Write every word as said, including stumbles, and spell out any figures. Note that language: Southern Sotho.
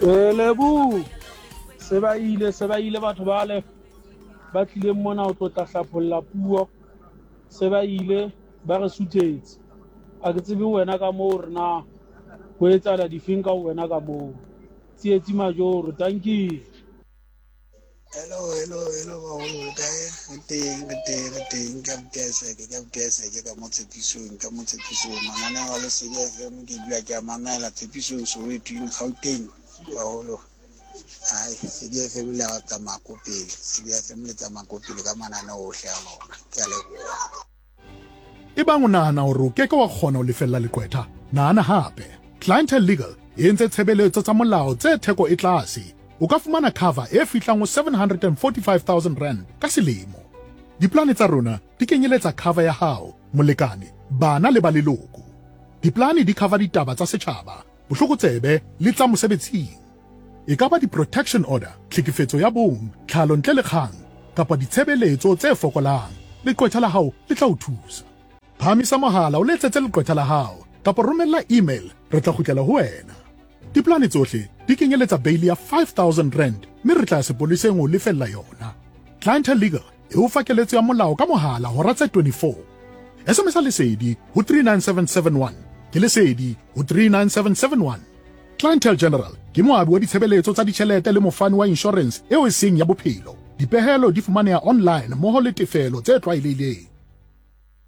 Lebo se ba ile se ba ile batho bale ba tlileng mona ho tlo tla hlapholla puo, se ba ile ba re suthetse. A ke tsebe wena ka moo re na ho etsahala difeng ka wena ka moo. Tsietsi Majoro, dankie. Hello, hello, hello baholo, le kae? Re teng, re teng, re teng. Ke abuti Isaac, ke abuti Isaac ka mo Tshepisong, ka mo Tshepisong. Mananeo a Lesedi F M ke dula ke a mamela Tshepisong, Soweto, Gauteng, baholo. Ai, Lesedi F M le a tsamaya ko pele. Lesedi F M le tsamaya ko pele ka mananeo ohle a lona. Ke a leboha. Ebang o nahana hore o keke wa kgona ho lefella leqwetha, nahana hape. Clientele Legal e entse tshebeletso tsa molao tse theko e tlase. O ka fumana cover e fihlang ho seven hundred and forty-five thousand rand ka selemo. Diplane tsa rona di kenyeletsa cover ya hao, molekane, bana le ba leloko. Diplane di cover ditaba tsa setjhaba, bohlokotsebe le tsa mosebetsing. E ka ba di-protection order, tlhekefetso ya bong, tlhalo ntle le kgang, kapa ditshebeletso tse fokolang. Leqwetha la hao le tla o thusa. Phahamisa mohala o letsetse leqwetha la hao kapa romella email, re tla kgutlela ho wena. Diplane tsohle di kenyeletsa bail ya five thousand rand mme re tla ya sepoleseng ho lefella yona. Clientele Legal e o fa keletso ya molao ka mohala hora tse twenty-four. S M S Lesedi ho three nine seven seven one. Ke Lesedi ho three nine seven seven one. Clientele General ke moabi wa ditshebeletso tsa ditjhelete le mofani wa insurance eo e seng ya bophelo. Dipehelo di fumaneha online mmoho le tefelo tse tlwaelehileng.